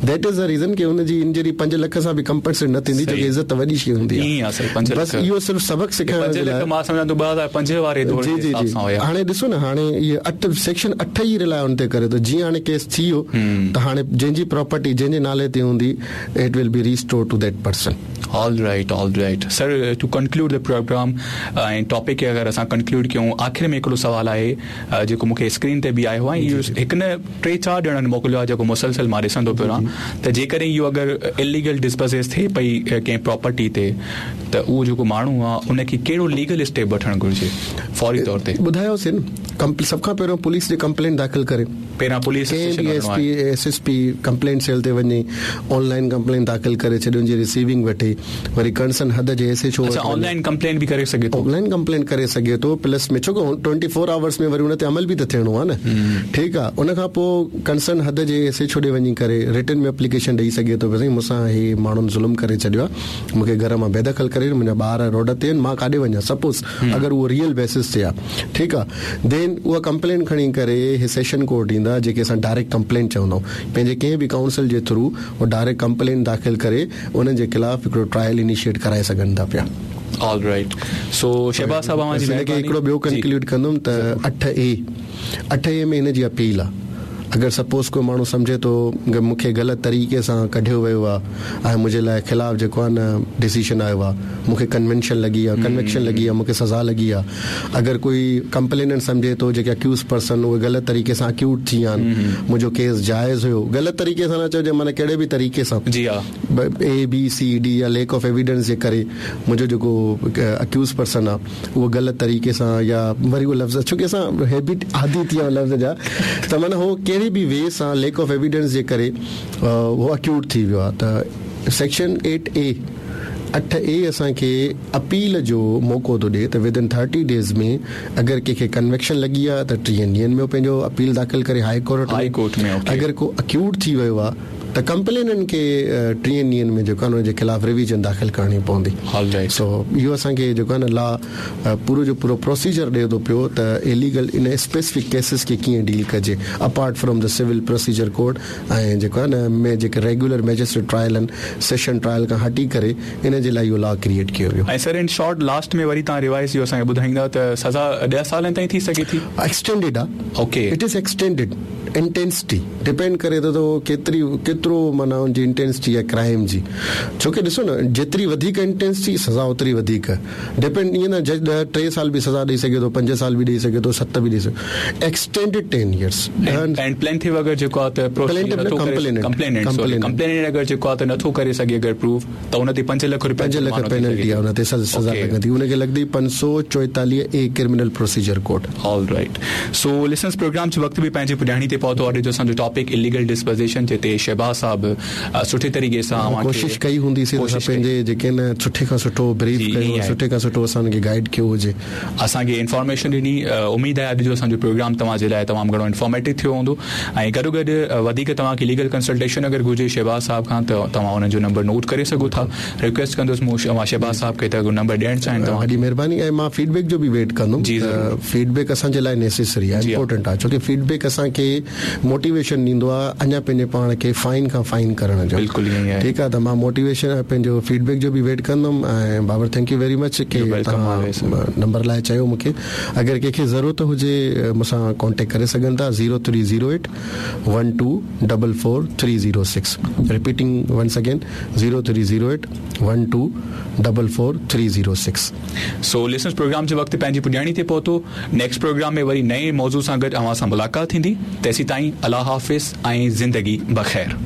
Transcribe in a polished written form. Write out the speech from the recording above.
That is the reason ڪي ان جي injury 5 lakh سان به ڪمپنسيٽ نه ٿيندي ڇو ڪي عزت وڏي شي هوندي آهي. بس اهو صرف سبق سکائڻ جي لاء. 5 لک مان سمجهان ٿو 2005 واري دور جي حساب سان هيا. هاڻي ڏسو نه هاڻي اهي 8 سيڪشن 8 ئي رلائي ان تي ڪري ٿو جيئن هاڻي ڪيس ٿي ويو ته هاڻي جنهن جي پراپرٽي جنهن جي نالي تي هوندي it will be restore to that person. All right all right sir to conclude the programme ۽ topic کي اگر اسان ڪنڪلوڊ ڪيون آخر ۾ هڪڙو سوال آهي جيڪو مون کي اسڪرين تي به آيو آهي ۽ اهو هڪ نه ٽي چار ڄڻن موڪليو آهي جيڪو مسلسل مان ڏسندو پيو رهان ته جيڪڏهن اهو اگر اليگل ڊسپزيس ٿئي پئي ڪنهن پراپرٽي تي ته اهو جيڪو ماڻهو آهي ان کي ڪهڙو ليگل اسٽيپ وٺڻ گهرجي فوري طور تي. ٻڌايوسين نه سڀ کان پهريون پوليس ڏي ڪمپلينٽ داخل ڪري. پهريان پوليس ڪنهن به S P S S P complaint cell تي وڃي آن لائين ڪمپلينٽ داخل ڪري ڇڏي ان جي رسيونگ وٺي وري ڪنسرن حد جي ايس ايڇ او اڇا آن لائين ڪمپلينٽ به ڪري سگهي ٿو. آن لائين ڪمپلينٽ ڪري سگهي ٿو پلس ۾ ڇو ڪه ٽوئنٽي فور آورس ۾ وري ان تي عمل به ته ٿيڻو آهي نه ٺيڪ آهي ان کان پوء ڪنسرن حد جي ايس ايڇ او ڏي وڃي ڪري رٽن ۾ اپليڪيشن ڏئي سگهي ٿو سائين مون سان هي ماڻهن ظلم ڪري ڇڏيو آهي مون کي گهر مان بيدخل ڪري منهنجا ٻار روڊ تي آهن مان ڪاڏي وڃان سپوز اگر اهو ريئل بيسس تي آهي ٺيڪ آ دين اها ڪمپلين کڻي ڪري هي سيشن ڪورٽ ايندا جيڪي اسان ڊائريڪٽ ڪمپلين چوندا آهيون پنهنجي ڪنهن به ڪائونسل جي ٿرو هو ڊائريڪٽ ڪمپلين داخل ڪري انهن جي خلاف هڪڙو ٽرائل انيشيئيٽ ڪرائي سگهن ٿا پيا. آل رائيٽ سو شهباز صاحب اوهان جي مهرباني. هن کي هڪڙو ٻيو ڪنڪلوڊ ڪندم ته 8 اي 8 اي ۾ هن جي اپيل آ اگر سپوز ڪو ماڻهو سمجهي ٿو ته مون کي غلط طريقي سان ڪڍيو ويو آ ۽ منهنجي لاء خلاف جيڪو آ نه ڊسيشن آيو آ مون کي ڪنوينشن لڳي آ ڪنوڪشن لڳي آ مون کي سزا لڳي آ اگر ڪوئي ڪمپليننٽ سمجهي ٿو جيڪي اڪيوز پرسن اهي غلط طريقي سان اڪيوڊ ٿي ويا آهن منهنجو ڪيس جائز هيو غلط طريقي سان نه چئجي معنيٰ ڪهڙي به طريقي سان جي ها اي بي سي ڊي يا ليڪ آف ايويڊنس جي ڪري منهنجو جيڪو اڪيوز پرسن آ اهو غلط طريقي سان يا وري اهو لفظ ڇو ڪي اسان هيبٽ عادي ٿي ويا لفظ جا ته معنيٰ هو ڪهڙي به وي سان ليڪ آف ايويڊنس جي ڪري اهو اڪيوڊ ٿي ويو آ ته سيڪشن ايٽ اي اٺ اي اسان کي اپيل جو موقعو ٿو ڏي ته ود ان ٿرٽي ڊيز ۾ اگر ڪنهن کي ڪنوڪشن لڳي آ ته ٽيهن ڏينهن ۾ هو پنهنجو اپيل داخل ڪري هاء ڪورٽ ۾ اگر ڪو اڪيوڊ ٿي ويو آ ته ڪمپليننٽ کي ٽيهن ڏينهن ۾ جيڪو آ نه ان جي خلاف ريويزن داخل ڪرڻي پوندي سو اهو اسان کي جيڪو آ نه لا پورو جو پورو پروسيجر ڏي ٿو پيو ته اليگل ان اسپيسفڪ ڪيسز کي ڪيئن ڊيل ڪجي apart from the civil procedure code ۽ جيڪو آهي نه ۾ جيڪي ريگيولر مئجسٽريٽ ٽرائل آهن سيشن ٽرائل کان هٽي ڪري ان جي لاء اهو لا ڪريئيٽ ڪيو ويو. ۽ سر ان شارٽ لاسٽ ۾ وري توهان ريوائز اهو اسان کي ٻڌائيندا ته سزا ڏهه سالن تائين ٿي سگهي ٿي؟ ايڪسٽينڊيڊ آ. Okay. It is extended intensity depend ڪري ٿو ته اهو ڪيتري ڪيترو معنيٰ ان جي انٽينسٽي آهي ڪرائيم جي ڇو ڪي ڏسو نه جيتري وڌيڪ انٽينسٽي سزا اوتري وڌيڪ ڊپينڊ ائين نه جج ڏهه ٽي سال به سزا ڏئي سگهي ٿو پنج سال به ڏئي سگهي ٿو ست به ڏئي سگهي ايڪسٽينڊيڊ ٽين ايئرس ڏهن اينڊ پلينٽف اگر جيڪو آ ته پروسيڊ نٿو ڪري ڪمپليننٽ سوري ڪمپليننٽ اگر جيڪو آ ته نٿو ڪري سگهي اگر پروف ته ان تي پنج لک روپيا 5 لک پينلٽي آ ان تي سزا لڳندي ان کي لڳندي 544 A criminal procedure code. All right so listeners programme جو وقت به پنهنجي پڄاڻي تي پهتو اڄ جو اسان جو ٽاپڪ اليگل ڊسپوزيشن جتي شهباز صاحب سٺي طريقي سان اوهان کي ڪوشش ڪئي هوندي سي ته اسان پنهنجي جيڪي نه سٺي کان سٺو بريف ڪيو سٺي کان سٺو اسان انهن کي گائيڊ ڪيو هجي. اسان کي انفارميشن ڏني اميد آهي اڄ جو اسان جو پروگرام توهان جي لاء تمام گهڻو انفارميٽو ٿيو هوندو ۽ گڏو گڏ وڌيڪ توهان کي ليگل ڪنسلٽيشن اگر گهرجي شهباز صاحب کان ته توهان انهن جو نمبر نوٽ ڪري سگهو ٿا ريڪويسٽ ڪندس مون اوهان شهباز صاحب کي ته اگر نمبر ڏيڻ چاهين توهان وڏي مهرباني ۽ مان فيڊ بيڪ جو به ويٽ ڪندم ته فيڊ بيڪ اسان جي لاء نيسيسري آهي امپورٽنٽ آهي ڇو ڪي فيڊ بيڪ اسان کي موٽيويشن ڏيندو آ اڃا پنهنجي پاڻ کي فائن کان فائن ڪرڻ جو بلڪل ائين ئي آهي. ٺيڪ آ ته مان موٽيويشن ۽ پنهنجو فيڊ بيڪ جو به ويٽ ڪندم ۽ Babar thank you very much ڪي توهان نمبر لاء چيو مونکي اگر ڪنهن کي ضرورت هجي مون سان ڪانٽيڪٽ ڪري سگهن ٿا zero three zero eight one two double four three zero six repeating once again zero three zero eight one two double four three zero six. So listeners programme جو وقت پنهنجي پڄاڻي تي پهتو نيڪسٽ پروگرام ۾ وري نئين موضوع سان گڏ اوهان سان ملاقات ٿيندي تيسيتائين الله حافظ ۽ زندگي بخير.